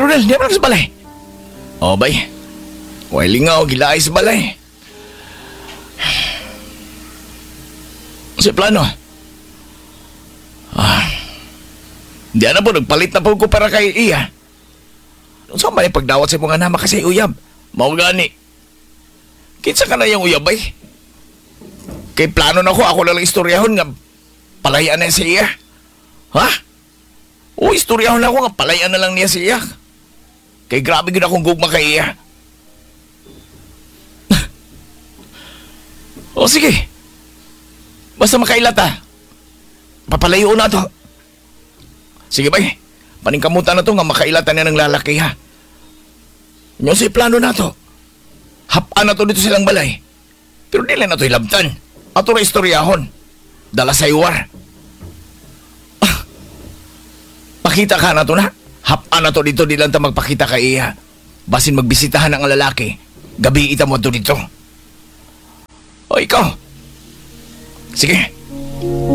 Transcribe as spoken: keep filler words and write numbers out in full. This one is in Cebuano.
Ronel, di ba sa balay? Oh, bay. Way lingaw, gilaay sa balay. Sa plano. Ah. Di na po, nagpalit na po ko para kay iya. Saan ba yung pagdawat sa mga nama kasi uyab? Mao gani. Kinsa ka na yung uyab ay? Kay plano na ko, ako na lang istoryahon nga palayan na siya. Iya. Ha? O, istoryahon na ako nga palayan na lang niya siya. Kay grabe gud akong gugma kay iya. O sige. Basta makailata. Papalayo na to. Sige bay. Paningkamutan na to nga makailata niya ng lalaki ha. Nyo si plano na to. Hapaan na to dito silang balay. Pero dili na to ilabtan. Ato ra istoryahon. Dala sa iwar. Ah. Pakita ka na to na. Hapaan na to dito di lang ta magpakita kay iya. Basin magbisitahan ang lalaki. Gabi ita mo to dito. O ikaw. Sige.